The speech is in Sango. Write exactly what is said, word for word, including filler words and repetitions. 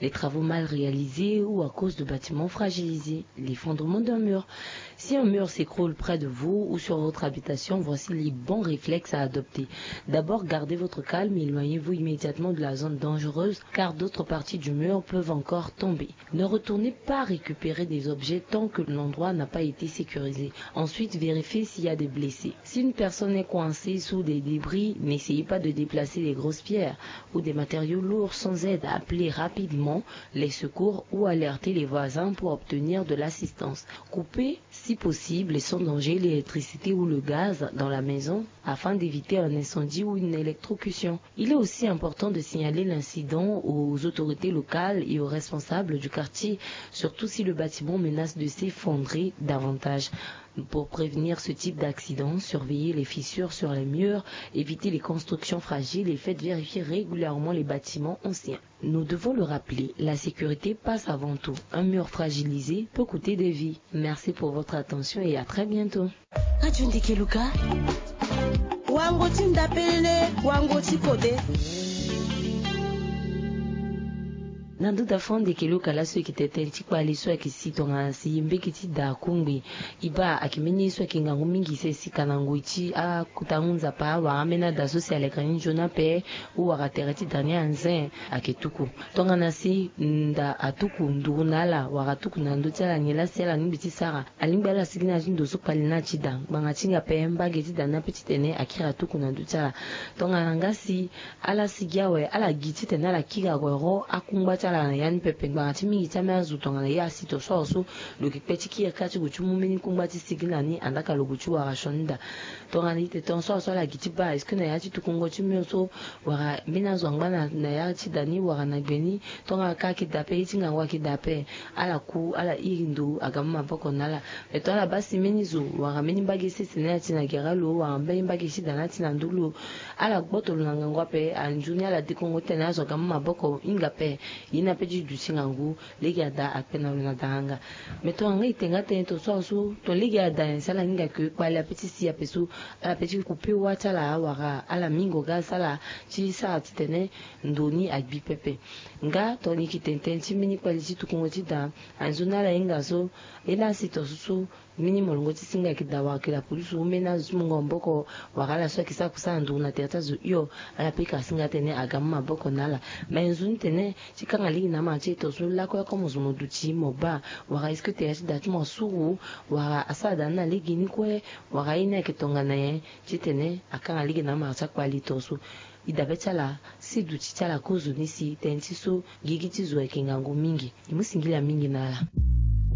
Les travaux mal réalisés ou à cause de bâtiments fragilisés, l'effondrement d'un mur. Si un mur s'écroule près de vous ou sur votre habitation, voici les bons réflexes à adopter. D'abord, gardez votre calme et éloignez-vous immédiatement de la zone dangereuse, car d'autres parties du mur peuvent encore tomber. Ne retournez pas récupérer des objets tant que l'endroit n'a pas été sécurisé. Ensuite, vérifiez s'il y a des blessés. Si une personne est coincée sous des débris, n'essayez pas de déplacer les grosses pierres ou des matériaux lourds sans aide. Appelez rapidement les secours ou alertez les voisins pour obtenir de l'assistance. Coupez, si possible, et sans danger, l'électricité ou le gaz dans la maison afin d'éviter un incendie ou une électrocution. Il est aussi important de signaler l'incident aux autorités locales et aux responsables du quartier, surtout si le bâtiment menace de s'effondrer davantage. Pour prévenir ce type d'accident, surveillez les fissures sur les murs, évitez les constructions fragiles et faites vérifier régulièrement les bâtiments anciens. Nous devons le rappeler, la sécurité passe avant tout. Un mur fragilisé peut coûter des vies. Merci pour votre attention et à très bientôt. Radio Ndeke Luka. Wango ti ndapele, wango ti kode. Na nduda fo Ndeke Luka laso e yeke tene tënë ti kpali so ayeke si tongana si mbege ti da akungbi. E baa ayeke mbeni ye so ayeke ngangu mingi si e sika na ngoi ti akutangu Nzapa wala ambeni ada so si aleka ni nzoni ape, ou wala tere ti da ni anze ayeke tuku. Tongana si nda atuku nduru na ala wala atuku na ndö ti ala nyen laa si ala lingbi ti sara? Alingbi ala sigi na ya ti ndo so kpali ni na ya ti da ngbanga ti hinga ape, mbage ti da ni ape titene akiri atuku na ndö ti ala. Tongana nga si ala sigi awe, ala gi titene ala kiri awe ro akungba ti ala na ya ni pepe. Ngbanga ti mingi ti ambeni azo tongana ye asi to so awe so, lo yeke kpe ti kiri kâ ti gue ti mu mbeni kungba ti sigi na ni, andaa ka lo gue ti wara sioni da. Tongana e tene tongaso awe so ala gi ti baa, est-ce que na ya ti tukungo ti mur so, wala mbeni azo angba na, na ya ti da ni wala na gbe ni, tongana ka ayeke daa ape, ye ti ngangu ayeke daa ape, ala ku, ala iri ndo aga mu maboko na ala. Me tongana ala baa si mbeni zo wala mbeni mbage sese ni ati na gere lo, wala mbeni mbage ti da ni ati na ndö lo, ala gboto lo na ngangu ape, anzoni ala dekongo titene azo aga mu maboko hinga ape. Ye ni ape ti duti ngangu, lege ada akpe na lo na daranga. Me tongana nga e te nga tënë tongaso awe so, to lege ada nyen si ala hinga ke kpali ape ti si ape so, ala pe ti couper wâ ti ala wala ala mingo ga asara ti sara titene ndo ni agbi pepe. Nga tongana e yeke tene tënë ti mbeni kpali ti tukungo ti da, anzoni ala hinga so, ye laa si tongaso so, mbeni molongo ti singa ayeke daa wala ayeke daa pulusu, mbeni azo ti mungo maboko wala ala so ayeke sara kusala na nduru na tere ti azo hio, ala pe ka singa titene aga mu maboko na ala. Me nzoni tene ti kanga lege na amara ti e tongaso lakue comme zo mo duti mo baa, wala est-ce que tere ti da ti mo asuru, wala asara da ni na lege ni kue, wala ye ni ayeke tongana nyen, titene akanga lege na amara ti akpali tongaso. E dabe ti ala si duti ti ala kozoni si tënë ti so gigi ti zo ayeke ngangu mingi. E mu singila mingi na ala.